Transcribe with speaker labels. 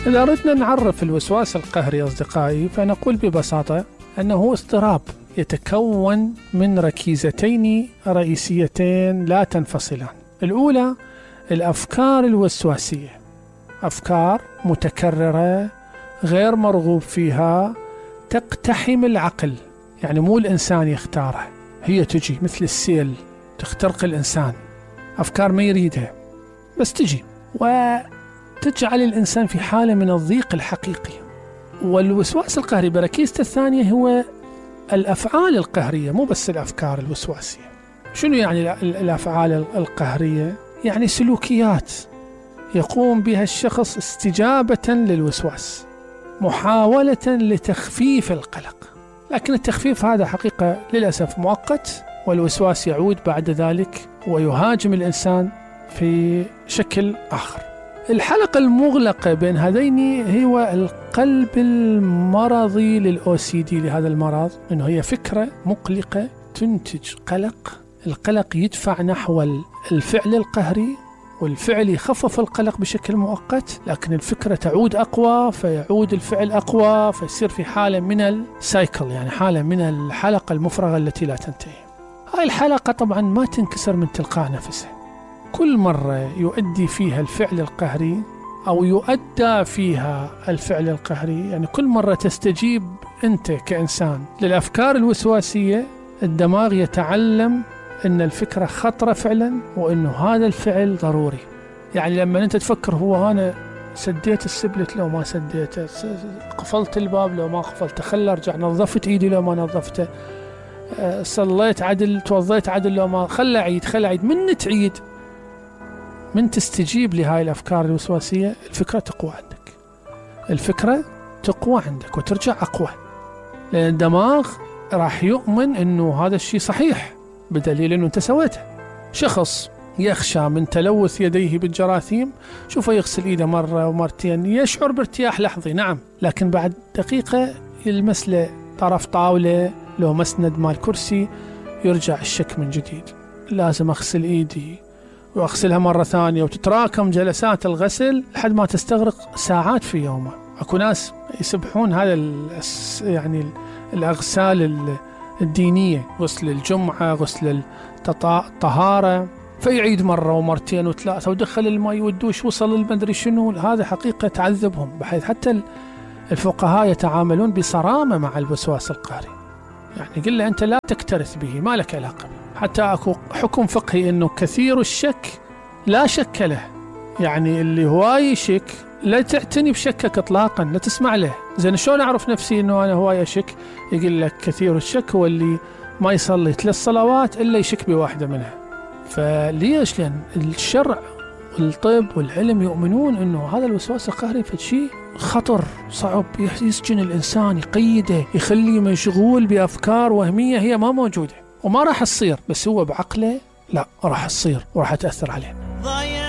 Speaker 1: إذا أردنا نعرف الوسواس القهري أصدقائي فنقول ببساطة أنه اضطراب يتكون من ركيزتين رئيسيتين لا تنفصلان. الأولى الأفكار الوسواسية، أفكار متكررة غير مرغوب فيها تقتحم العقل، يعني مو الإنسان يختارها، هي تجي مثل السيل تخترق الإنسان، أفكار ما يريدها بس تجي وتجعل الإنسان في حالة من الضيق الحقيقي. والوسواس القهري بركيزته الثانية هو الأفعال القهرية، مو بس الأفكار الوسواسية. شنو يعني الأفعال القهرية؟ يعني سلوكيات يقوم بها الشخص استجابة للوسواس، محاولة لتخفيف القلق، لكن التخفيف هذا حقيقة للأسف مؤقت، والوسواس يعود بعد ذلك ويهاجم الإنسان في شكل آخر. الحلقة المغلقة بين هذين هو القلب المرضي للOCD، لهذا المرض، إنه هي فكرة مقلقة تنتج قلق، القلق يدفع نحو الفعل القهري، والفعل يخفف القلق بشكل مؤقت، لكن الفكرة تعود أقوى فيعود الفعل أقوى، فيصير في حالة من السايكل، يعني حالة من الحلقة المفرغة التي لا تنتهي. هاي الحلقة طبعا ما تنكسر من تلقاء نفسها، كل مرة يؤدي فيها الفعل القهري أو يؤدى فيها الفعل القهري، يعني كل مرة تستجيب أنت كإنسان للأفكار الوسواسية، الدماغ يتعلم أن الفكرة خطرة فعلا، وأنه هذا الفعل ضروري. يعني لما أنت تفكر هو أنا سديت السبلت لو ما سديته، قفلت الباب لو ما قفلته، خل أرجع، نظفت إيدي لو ما نظفته، صليت عدل، توضيت عدل لو ما، خل أعيد، من تعيد، من تستجيب لهاي الأفكار الوسواسية، الفكرة تقوى عندك وترجع أقوى، لأن الدماغ راح يؤمن أنه هذا الشيء صحيح بدليل أنه أنت سويته. شخص يخشى من تلوث يديه بالجراثيم، شوفه يغسل إيده مرة ومرتين يشعر بارتياح لحظي، نعم، لكن بعد دقيقة يلمس له طرف طاولة لو مسند مال كرسي يرجع الشك من جديد، لازم أغسل إيدي وأغسلها مرة ثانية، وتتراكم جلسات الغسل لحد ما تستغرق ساعات في يومه. أكو ناس يسبحون هذا يعني الأغسال الدينية، غسل الجمعة، غسل الطهارة، فيعيد مرة ومرتين وثلاثة، ودخل الماء والدوش، وصل المدري شنو. هذا حقيقة تعذبهم، بحيث حتى الفقهاء يتعاملون بصرامة مع الوسواس القهري، يعني قل له أنت لا تكترث به، ما لك علاقة. حتى أكو حكم فقهي أنه كثير الشك لا شك له، يعني اللي هواي يشك لا تعتني بشكك إطلاقا، لا تسمع له. زين شلون أعرف نفسي أنه أنا هواي أشك؟ يقول لك كثير الشك هو اللي ما يصلي 3 صلوات إلا يشك بواحدة منها. فليش؟ لأن الشرع والطب والعلم يؤمنون أنه هذا الوسواس القهري فشي خطر صعب، يسجن الإنسان، يقيده، يخليه مشغول بأفكار وهمية هي ما موجودة وما راح تصير، بس هو بعقله لا راح تصير وراح تأثر عليه.